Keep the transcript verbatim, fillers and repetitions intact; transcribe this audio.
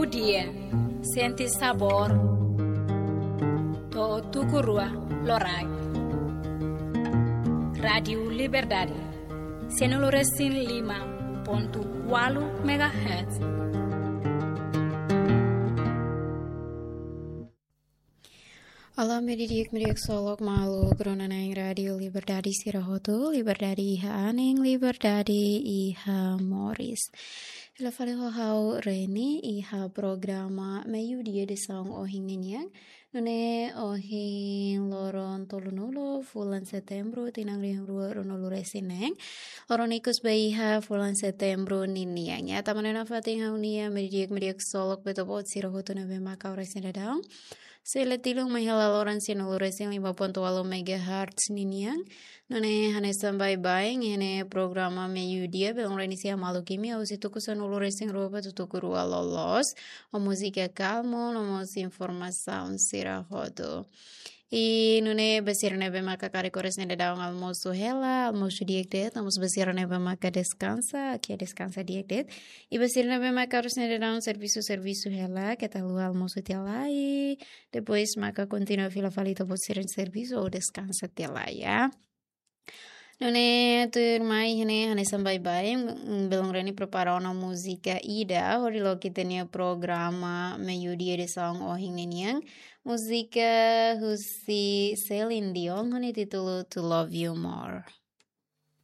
Dia, sente sabór. To'o tuku rua loraik. Rádiu Liberdade, sianulu resin lima pontu ualu megahertz. Olá, medidik, medidik solok maluk rona na'in Rádiu Liberdade sira hotu, liberdade iha anin, liberdade iha moris. Fila fali ho ha'u Reni, iha programa Meiudia edisaun ohin ninian. Nune'e ohin loron tolunulu, fulan Setembru, tinan rihun rua ruanulu resin neen. Loron ikus ba iha fulan Setembru ninian. Ya, tama ona nafatin ha'u-nia medidik, medidik solok ba ita-boot sira hotu ne'ebé maka oras ne'e daudaun. Sela tilun mai hela loron sianulu resin lima pontu ualu megahertz ninian. Nune'e hanesan baibain, iha ne'e programa Meiudia, belun Reni sei hamaluk imi, husi tuku sanulu resin rua ba tuku rua loloos. Ho múzika kalmu, no mós informasaun sira hotu. I nune'e ba sira ne'ebé maka karik oras ne'e daudaun almosu hela, almosu di'ak de'it, no mós ba sira ne'ebé maka deskansa, ke deskansa di'ak de'it. I ba sira ne'ebé maka oras ne'e daudaun servisu, servisu hela, keta haluha almosu tiha lai. Depois maka kontinua fila fali ita-boot sira-nia servisu ou deskansa tiha lai, ya. Nune'e tuirmai iha ne'e hanesan baibain, mm, belun Reni prepara ona múzika ida, hodi loke ita-nia programa Meiudia edisaun ohin ninian. Múzika husi Celine Dion, ho nia títulu To Love You More.